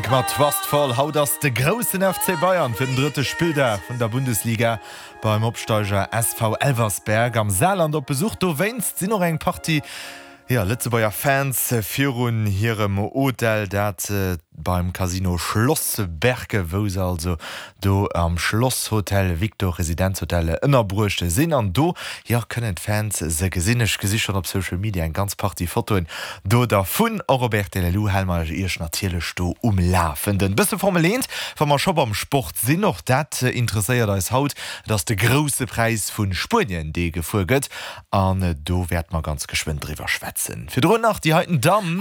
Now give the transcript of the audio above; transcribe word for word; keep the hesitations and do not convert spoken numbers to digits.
Pink mat Trustfall. Haut ass de groussen F C Bayern fir den drëtte Spilldag vun der Bundesliga beim Opsteiger S V Elversberg am Saarland op Besuch. Dowéinst sinn och eng Partie, jo, Lëtzebuerger Fans virun hirem Hotel, dat beim Casino Schlossberg, wou se also do am Schlosshotel Victor Residenzhotel ënnerbruecht sinn, an do, jo, kënnen d'Fans se gesinn. Ech gesi schonn op Social Media eng ganz Partie Fotoen do dervun. Och op R T L L U hale mer iech natierlech do um Lafenden. Bësse Formel eent, wa mer scho beim Sport sinn, och dat interesséiert eis haut. Dat ass de Grousse Präis vu Spuenien, dee gefuer gëtt, an do wäerte mer ganz geschwënn driwwer schwätzen. Virdrun nach déi heiten Damm.